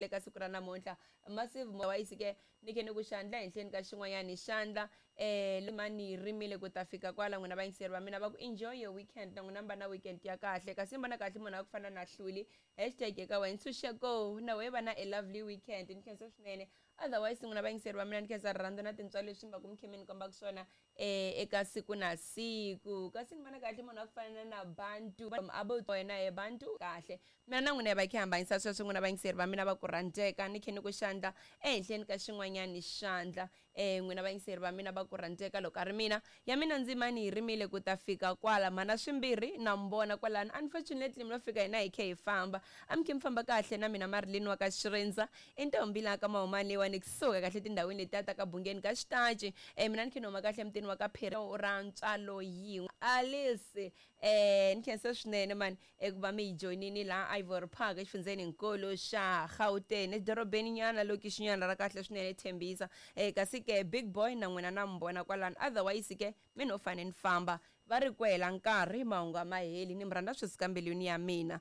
Ka siku ra namuntlha massive wise ke ni khe ni ku xandla henhleni ka xin'wanyani xandla mani rimile ku ta fika kwala. N'wina vayingiseri va mina va ku enjoy your weekend, na n'wina mi va na weekend ya kahle. Kasi mi vona kahle munhu a ku fana na Hluli, hashtag eka wena ntshunxeko, na wehe va na a lovely weekend. Ni khensa swinene. Otherwise n'wina vayingiseri va mina, ni khensa rirhandzu na tintswalo leswi mi va ku mi khe mi ni kombaka swona eka siku na siku. Kasi ni vona kahle munhu a ku fana na Bantu abo wena he Bantu kahle. Mina na n'wina hi va hi kha hi hambanyisa sweswo. N'wina vayingiseri va mina va ku rhandzeka, ni khe ni ku xandla ehenhleni ka xin'wanyani xandla. N'wina vayingiseri va mina va ku rhandzeka, loko a ri mina ya mina ndzimani yi rimile ku ta fika kwala. Mhana swimbirhi na mi vona kwalano. Unfortunately mi lo fika hina hi khe hi famba. A mi khe mi famba kahle na mina Marilyn wa ka Xirindza, i ntombi laha ka Mahumani leyiwani kusuka kahle tindhawini letiya ta ka Bungeni ka Xitaci. Mina ni khe ni huma kahle emutini wa ka Phiri ra ntswalo yin'we. Alice, ni khensa swinene mani eku va mi yi joyinini laha Ivory Park exifundzheni nkulu xa Gauteng, edorobeni nyana lokixinyana ra kahle swinene Tembisa. Kasi ke Big Boy na n'wina na mi vona kwalano. Otherwise ke mi no fane ni famba, va ri ku hela nkarhi mahungu a ma heli. Ni mi rhandza swi suka mbilwini ya mina.